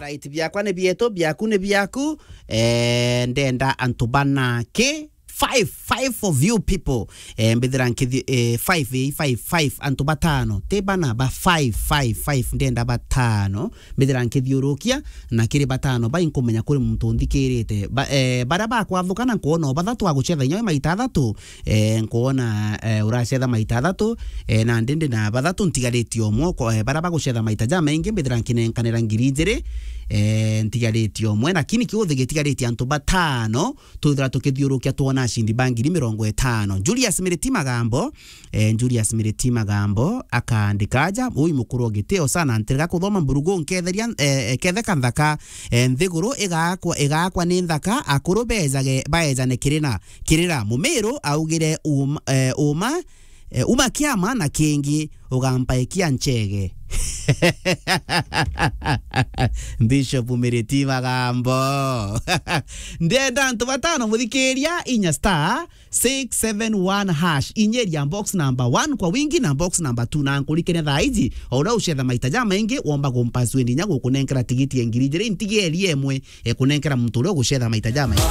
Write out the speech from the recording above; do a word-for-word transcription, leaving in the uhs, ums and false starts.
Right, biakwa ni bietu, biaku ni biaku. Eh, ndenda antu bana ki five, five of you people. Eh, mbithira nkithi, eh, five, eh, five, five, antu batano. Ti bana, ba five, five, five, ndenda batano. Mbithira nkithiurukia, na kiri batano bai nkumenya kuri muntu nthikirite. Ba, eh, baria bakwathuka na nkwona o bathatu agucetha inya maita athatu, eh, nkwona, eh, uracetha maita athatu, eh, na ndindi na bathatu ntigaritie umwe, ko-, eh, baria bagucetha maita jamaingi mbithira nkinenkanira ngiri ijiri, eh, ntigaritie umwe, lakini kiuthi gitigaritie antu batano, twithira tukithiurukia twona acindi ba ngiri mirongo itano. Julius Miriti Magambo, eh, Julius Miriti Magambo akaandika aja, ui mukuru o gitio sana, ntirega kuthoma mburugu nketheria, eh, eh, ketheka nthaka, eh, nthiguru igakwa, igakwa ni nthaka, akuru bejage, baejane kirina, kirira. Mumiru augire uma, eh, uma, eh, uma kiama na kingi ugampaikia nchege. Bishop Miriti Magambo. Ndenda antu batano muthikiria inya star six seven one hash. Inyeria box number one kwa wingi na box number two, na nkurikene thaa iji, o uria ucetha maita jamaingi, womba kumpaswindi inya gukunenkera tigiti ya ngiri ijiri, ntigerie imwe, e, kunenkera muntu uria ugucetha maita jamaingi.